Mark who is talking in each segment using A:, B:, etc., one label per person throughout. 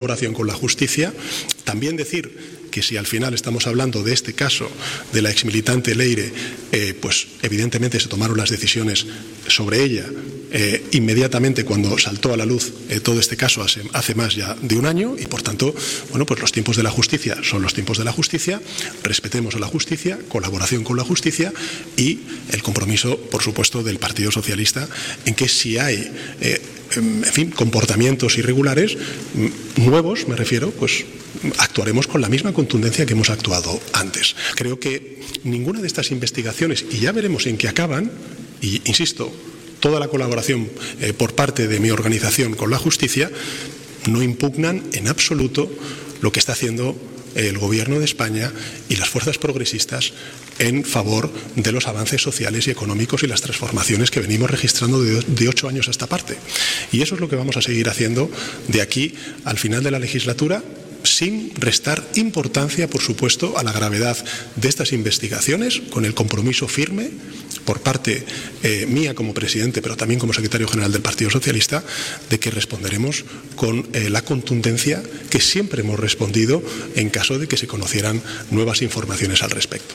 A: colaboración con la justicia. También decir que si al final estamos hablando de este caso de la exmilitante Leire, pues evidentemente se tomaron las decisiones sobre ella inmediatamente cuando saltó a la luz todo este caso hace más ya de un año, y por tanto, bueno, pues los tiempos de la justicia son los tiempos de la justicia, respetemos a la justicia, colaboración con la justicia y el compromiso, por supuesto, del Partido Socialista en que si hay en fin, comportamientos irregulares nuevos, me refiero, pues actuaremos con la misma contundencia que hemos actuado antes. Creo que ninguna de estas investigaciones, y ya veremos en qué acaban, y insisto, toda la colaboración por parte de mi organización con la justicia, no impugnan en absoluto lo que está haciendo el Gobierno de España y las fuerzas progresistas en favor de los avances sociales y económicos y las transformaciones que venimos registrando de 8 años a esta parte. Y eso es lo que vamos a seguir haciendo de aquí al final de la legislatura, sin restar importancia, por supuesto, a la gravedad de estas investigaciones, con el compromiso firme por parte mía como presidente, pero también como secretario general del Partido Socialista, de que responderemos con la contundencia que siempre hemos respondido en caso de que se conocieran nuevas informaciones al respecto.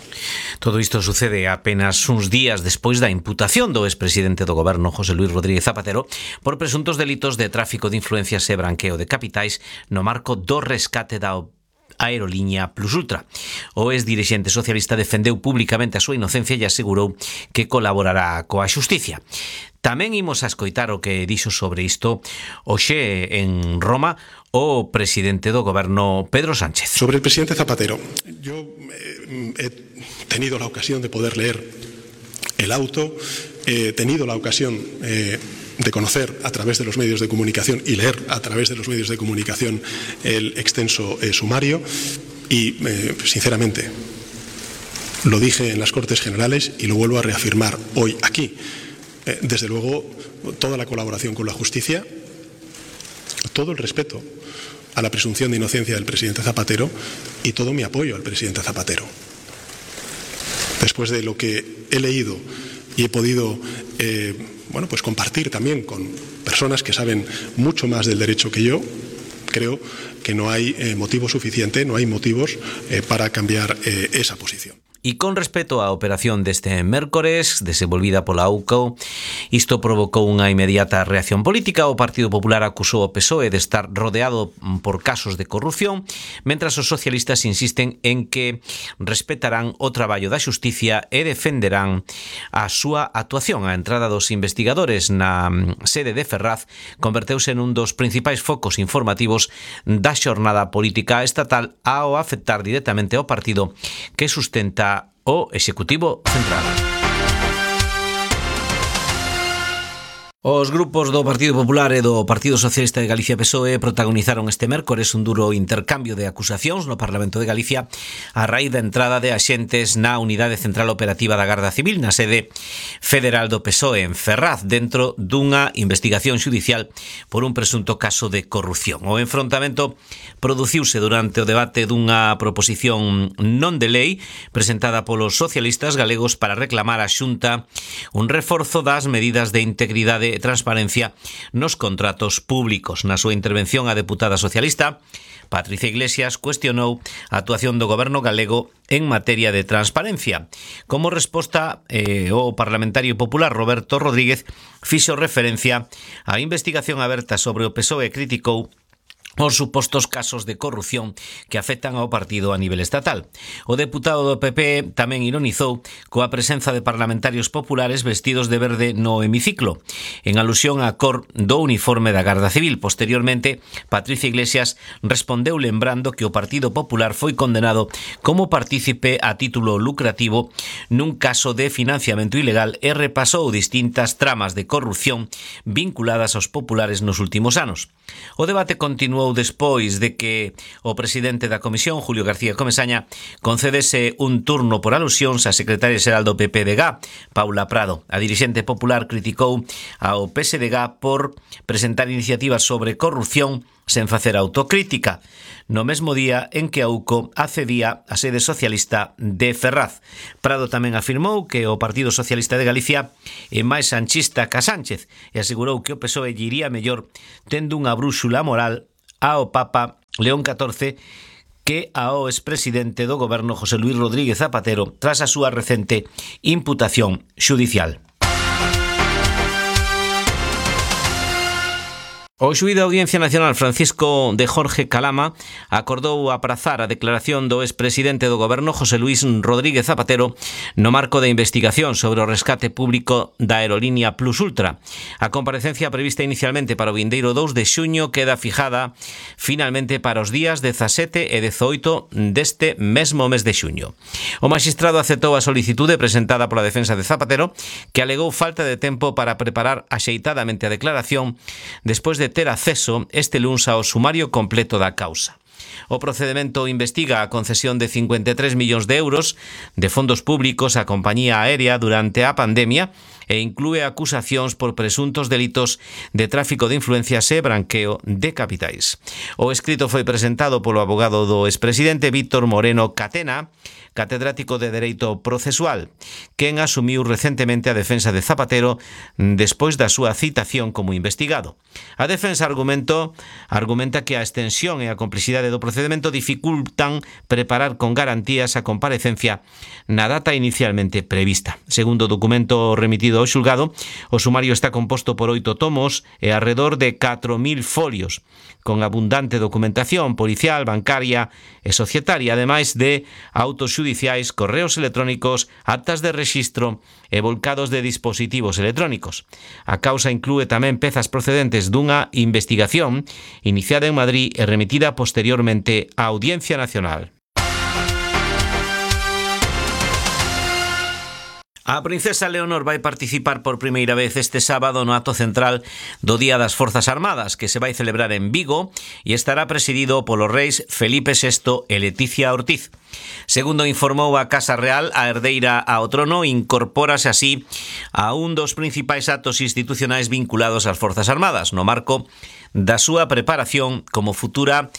B: Todo isto sucede apenas uns días despois da imputación do expresidente do Goberno José Luis Rodríguez Zapatero por presuntos delitos de tráfico de influencias e branqueo de capitais no marco do rescate da aerolínea Plus Ultra. O ex-dirixente socialista defendeu públicamente a súa inocencia e asegurou que colaborará coa xusticia. Tamén imos a escoitar o que dixo sobre isto hoxe en Roma o presidente do Goberno, Pedro Sánchez.
A: Sobre el presidente Zapatero, yo he tenido la ocasión de poder leer el auto, he tenido la ocasión de conocer a través de los medios de comunicación y leer a través de los medios de comunicación el extenso sumario y, sinceramente, lo dije en las Cortes Generales y lo vuelvo a reafirmar hoy aquí. Desde luego, toda la colaboración con la justicia, todo el respeto a la presunción de inocencia del presidente Zapatero y todo mi apoyo al presidente Zapatero. Después de lo que he leído y he podido bueno, pues compartir también con personas que saben mucho más del derecho que yo, creo que no hay motivo suficiente, no hay motivos para cambiar esa posición.
B: E con respecto á operación deste mércores, desenvolvida pola AUCO, isto provocou unha inmediata reacción política. O Partido Popular acusou o PSOE de estar rodeado por casos de corrupción, mentras os socialistas insisten en que respetarán o traballo da xusticia e defenderán a súa actuación. A entrada dos investigadores na sede de Ferraz converteuse nun dos principais focos informativos da xornada política estatal ao afectar directamente ao partido que sustenta o Executivo Central. Os grupos do Partido Popular e do Partido Socialista de Galicia PSOE protagonizaron este mércores un duro intercambio de acusacións no Parlamento de Galicia a raíz da entrada de axentes na Unidade Central Operativa da Garda Civil na sede federal do PSOE en Ferraz, dentro dunha investigación xudicial por un presunto caso de corrupción. O enfrontamento produciuse durante o debate dunha proposición non de lei presentada polos socialistas galegos para reclamar á Xunta un reforzo das medidas de integridade e transparencia nos contratos públicos. Na súa intervención, a deputada socialista Patricia Iglesias cuestionou a actuación do Goberno galego en materia de transparencia. Como resposta, o parlamentario popular Roberto Rodríguez fixo referencia á investigación aberta sobre o PSOE e criticou os supostos casos de corrupción que afectan ao partido a nivel estatal. O deputado do PP tamén ironizou coa presenza de parlamentarios populares vestidos de verde no hemiciclo, en alusión á cor do uniforme da Garda Civil. Posteriormente, Patricia Iglesias respondeu lembrando que o Partido Popular foi condenado como partícipe a título lucrativo nun caso de financiamento ilegal e repasou distintas tramas de corrupción vinculadas aos populares nos últimos anos. O debate continuou despois de que o presidente da Comisión, Julio García Comesaña, concedese un turno por alusións á secretaria xeral do PP de GA, Paula Prado. A dirixente popular criticou ao PSDG por presentar iniciativas sobre corrupción sen facer autocrítica, no mesmo día en que a UCO accedía á sede socialista de Ferraz. Prado tamén afirmou que o Partido Socialista de Galicia é máis sanchista que a Sánchez e asegurou que o PSOE lle iría mellor tendo unha brúxula moral ao Papa León XIV que ao expresidente do goberno José Luis Rodríguez Zapatero tras a súa recente imputación xudicial. O xuíz da Audiencia Nacional Francisco de Jorge Calama acordou aprazar a declaración do expresidente do goberno José Luis Rodríguez Zapatero no marco da investigación sobre o rescate público da aerolínea Plus Ultra. A comparecencia prevista inicialmente para o vindeiro 2 de xuño queda fijada finalmente para os días 17 e 18 deste mesmo mes de xuño. O magistrado aceptou a solicitude presentada pola defensa de Zapatero, que alegou falta de tempo para preparar axeitadamente a declaración despois de ter acceso este luns ao sumario completo da causa. O procedemento investiga a concesión de 53 millóns de euros de fondos públicos á compañía aérea durante a pandemia e inclúe acusacións por presuntos delitos de tráfico de influencias e branqueo de capitais. O escrito foi presentado polo abogado do expresidente Víctor Moreno Catena, catedrático de Dereito Procesual, quen asumiu recentemente a defensa de Zapatero despois da súa citación como investigado. A defensa argumenta que a extensión e a complexidade do procedemento dificultan preparar con garantías a comparecencia na data inicialmente prevista. Segundo o documento remitido ao xulgado, o sumario está composto por 8 tomos e arredor de 4.000 folios, con abundante documentación policial, bancaria e societaria, ademais de autos xudiciais, correos electrónicos, actas de rexistro e volcados de dispositivos electrónicos. A causa inclúe tamén pezas procedentes dunha investigación iniciada en Madrid e remitida posteriormente á Audiencia Nacional. A princesa Leonor vai participar por primeira vez este sábado no acto central do Día das Forzas Armadas, que se vai celebrar en Vigo e estará presidido polos reis Felipe VI e Leticia Ortiz. Segundo informou a Casa Real, a herdeira ao trono incorpórase así a un dos principais actos institucionais vinculados ás Forzas Armadas, no marco da súa preparación como futura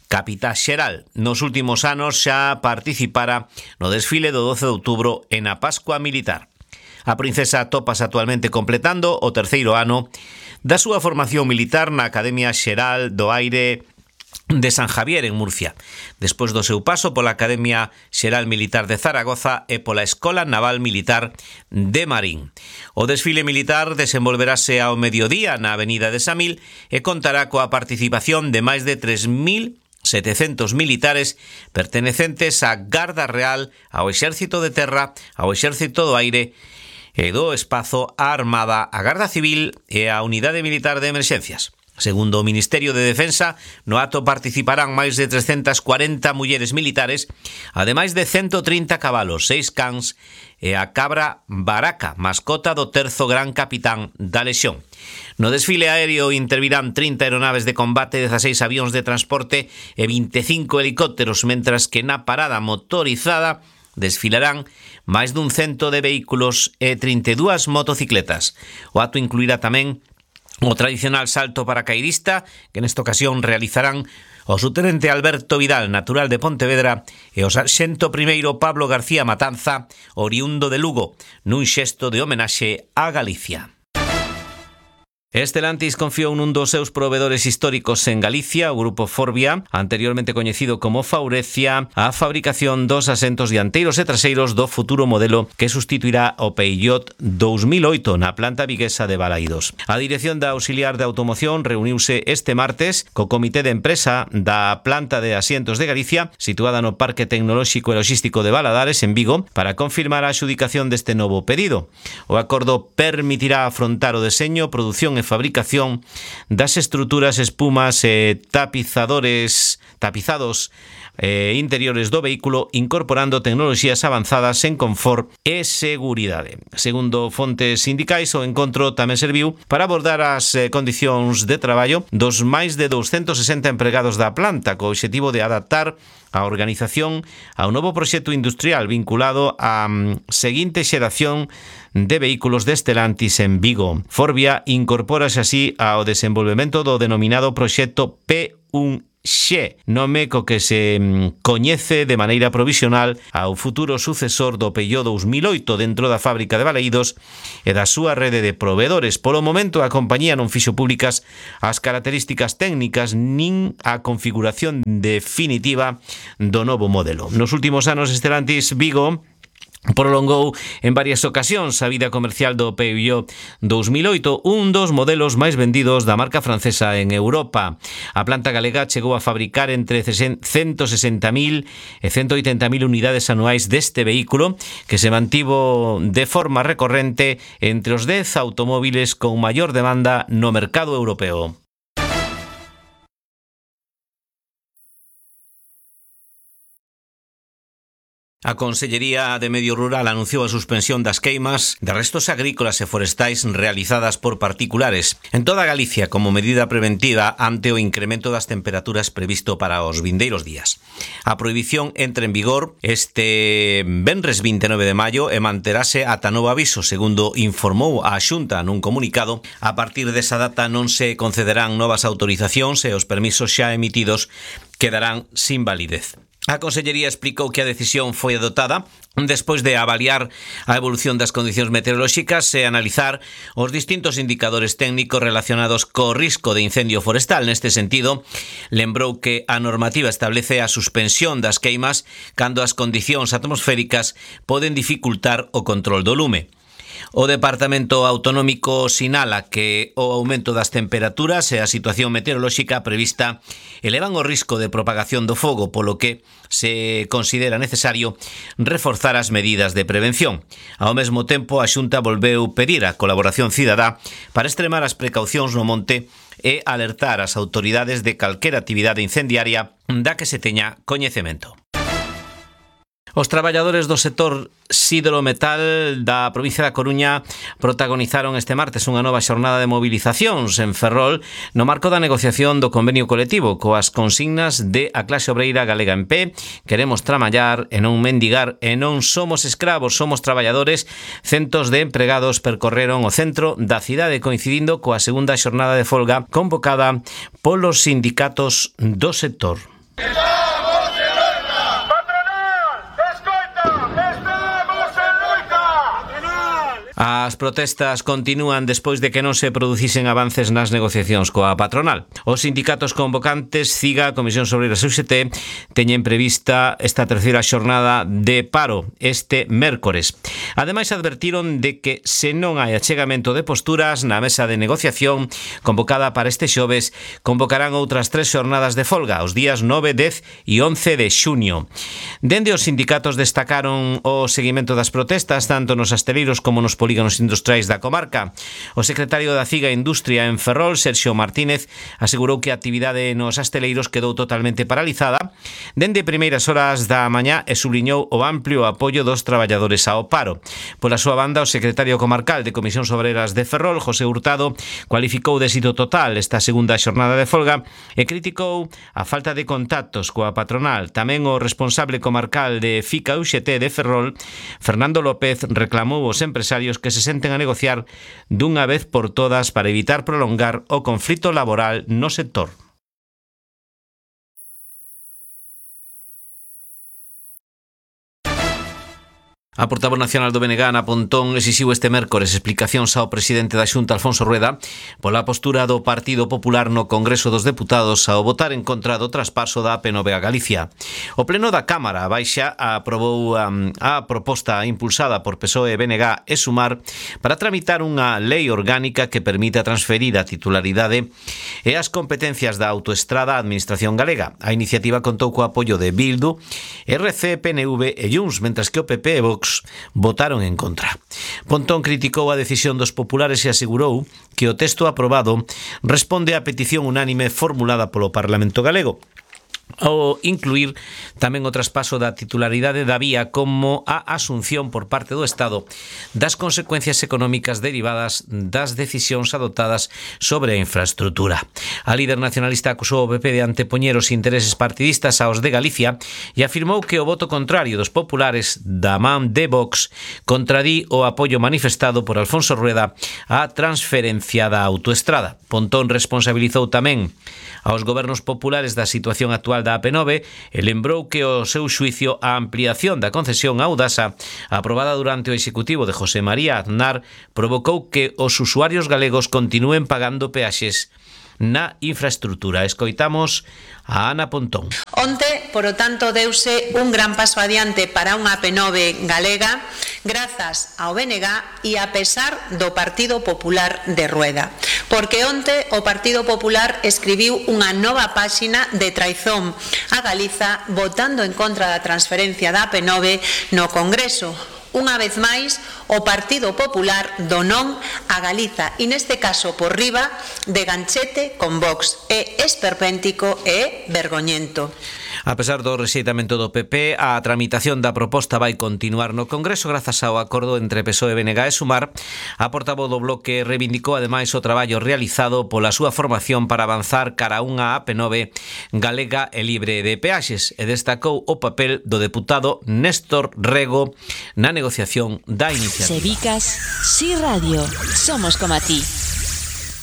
B: capitá xeral. Nos últimos anos xa participara no desfile do 12 de outubro e na Pascua Militar. A princesa tópase actualmente completando o terceiro ano da súa formación militar na Academia Xeral do Aire de San Javier en Murcia, despois do seu paso pola Academia Xeral Militar de Zaragoza e pola Escola Naval Militar de Marín. O desfile militar desenvolverase ao mediodía na Avenida de Samil e contará coa participación de máis de 3.700 militares pertenecentes á Garda Real, ao Exército de Terra, ao Exército do Aire e do Espazo, á Armada, á Garda Civil e á Unidade Militar de Emerxencias. Segundo o Ministerio de Defensa, no acto participarán máis de 340 mulleres militares, ademais de 130 cabalos, 6 cans e a cabra Baraca, mascota do terzo gran capitán da Lexión. No desfile aéreo intervirán 30 aeronaves de combate, 16 avións de transporte e 25 helicópteros, mentras que na parada motorizada desfilarán máis dun 100 de vehículos e 32 motocicletas. O acto incluirá tamén o tradicional salto paracaidista, que nesta ocasión realizarán o subtenente Alberto Vidal, natural de Pontevedra, e o sarxento primeiro Pablo García Matanza, oriundo de Lugo, nun xesto de homenaxe a Galicia. Stellantis confiou nun dos seus provedores históricos en Galicia, o grupo Forvia, anteriormente coñecido como Faurecia, a fabricación dos asentos dianteiros e traseiros do futuro modelo que sustituirá o Peugeot 2008 na planta viguesa de Balaídos. A dirección da Auxiliar de Automoción reuniuse este martes co Comité de Empresa da planta de asientos de Galicia, situada no Parque Tecnolóxico e Logístico de Valadares, en Vigo, para confirmar a adxudicación deste novo pedido. O acordo permitirá afrontar o deseño, produción e fabricación das estruturas, espumas e tapizados interiores do vehículo, incorporando tecnoloxías avanzadas en confort e seguridade. Segundo fontes sindicais, o encontro tamén serviu para abordar as condicións de traballo dos máis de 260 empregados da planta, co obxectivo de adaptar a organización ao novo proxecto industrial vinculado á seguinte xeración de vehículos de Stellantis en Vigo. Forvia incorpórase así ao desenvolvemento do denominado proxecto P1 Xe, nome co que se coñece de maneira provisional ao futuro sucesor do Peugeot 2008 dentro da fábrica de Balaídos e da súa rede de proveedores. Polo momento, a compañía non fixo públicas as características técnicas nin a configuración definitiva do novo modelo. Nos últimos anos, Stellantis Vigo prolongou en varias ocasións a vida comercial do Peugeot 2008, un dos modelos máis vendidos da marca francesa en Europa. A planta galega chegou a fabricar entre 160.000 e 180.000 unidades anuais deste vehículo, que se mantivo de forma recorrente entre os 10 automóviles con maior demanda no mercado europeo. A Consellería de Medio Rural anunciou a suspensión das queimas de restos agrícolas e forestais realizadas por particulares en toda Galicia como medida preventiva ante o incremento das temperaturas previsto para os vindeiros días. A prohibición entra en vigor este venres 29 de maio e manterase ata novo aviso, segundo informou a Xunta nun comunicado. A partir desa data non se concederán novas autorizacións e os permisos xa emitidos quedarán sin validez. A Consellería explicou que a decisión foi adoptada despois de avaliar a evolución das condicións meteorolóxicas e analizar os distintos indicadores técnicos relacionados co risco de incendio forestal. Neste sentido, lembrou que a normativa establece a suspensión das queimas cando as condicións atmosféricas poden dificultar o control do lume. O Departamento Autonómico sinala que o aumento das temperaturas e a situación meteorolóxica prevista elevan o risco de propagación do fogo, polo que se considera necesario reforzar as medidas de prevención. Ao mesmo tempo, a Xunta volveu pedir a colaboración cidadá para extremar as precaucións no monte e alertar as autoridades de calquera actividade incendiaria da que se teña coñecemento. Os traballadores do sector sidrometal da provincia da Coruña protagonizaron este martes unha nova xornada de movilizacións en Ferrol no marco da negociación do convenio colectivo coas consignas de a clase obreira galega en pé. Queremos traballar e non mendigar e non somos escravos, somos traballadores. Centos de empregados percorreron o centro da cidade coincidindo coa segunda xornada de folga convocada polos sindicatos do sector. As protestas continúan despois de que non se producisen avances nas negociacións coa patronal. Os sindicatos convocantes, CIGA, Comisión Obreira e UGT, teñen prevista esta terceira xornada de paro este mércores. Ademais, advertiron de que se non hai achegamento de posturas na mesa de negociación convocada para este xoves, convocarán outras 3 xornadas de folga, os días 9, 10 e 11 de xuño. Dende os sindicatos destacaron o seguimento das protestas tanto nos asteleiros como nos polígonos industriais da comarca. O secretario da CIGA Industria en Ferrol, Sergio Martínez, asegurou que a actividade nos asteleiros quedou totalmente paralizada dende primeiras horas da mañá e subliñou o amplio apoio dos traballadores ao paro. Pola súa banda, o secretario comarcal de Comisións Obreras de Ferrol, José Hurtado, cualificou de éxito total esta segunda xornada de folga e criticou a falta de contactos coa patronal. Tamén o responsable comarcal de FICA UGT de Ferrol, Fernando López, reclamou aos empresarios que se senten a negociar dunha vez por todas para evitar prolongar o conflito laboral no sector. A portavoz nacional do BNG, Ana Pontón, exixiu este mércores explicacións ao presidente da Xunta, Alfonso Rueda, pola postura do Partido Popular no Congreso dos Deputados ao votar en contra do traspaso da AP9 a Galicia. O Pleno da Cámara Baixa aprobou a proposta impulsada por PSOE, BNG e Sumar para tramitar unha lei orgánica que permita transferir a titularidade e as competencias da autoestrada á Administración galega. A iniciativa contou co apoio de Bildu, RC, PNV e Junts, mentras que o PP e Vox votaron en contra. Pontón criticou a decisión dos populares e asegurou que o texto aprobado responde á petición unánime formulada polo Parlamento galego. ao incluir tamén o traspaso da titularidade da vía como a asunción por parte do Estado das consecuencias económicas derivadas das decisións adoptadas sobre a infraestructura. A líder nacionalista acusou o PP de antepoñer os intereses partidistas aos de Galicia e afirmou que o voto contrario dos populares da man de Vox contradí o apoio manifestado por Alfonso Rueda á transferencia da autoestrada. Pontón responsabilizou tamén aos gobernos populares da situación actual da AP9 e lembrou que o seu xuicio a ampliación da concesión a Audasa aprobada durante o executivo de José María Aznar provocou que os usuarios galegos continúen pagando peaxes na infraestructura. Escoitamos a Ana Pontón.
C: Onte, por o tanto, deuse un gran paso adiante para unha AP9 galega grazas ao BNG e a pesar do Partido Popular de Rueda. Porque onte o Partido Popular escribiu unha nova páxina de traizón a Galiza votando en contra da transferencia da AP9 no Congreso. Unha vez máis, o Partido Popular do non a Galiza e neste caso por riba de ganchete con Vox. É esperpéntico e vergoñento.
B: A pesar do rexeitamento do PP, a tramitación da proposta vai continuar no Congreso grazas ao acordo entre PSOE, BNG e Sumar. A portavoz do Bloque reivindicou ademais o traballo realizado pola súa formación para avanzar cara a unha AP9 galega e libre de peaxes e destacou o papel do deputado Néstor Rego na negociación da iniciativa.
D: Sevicas, Si Radio, somos como a ti.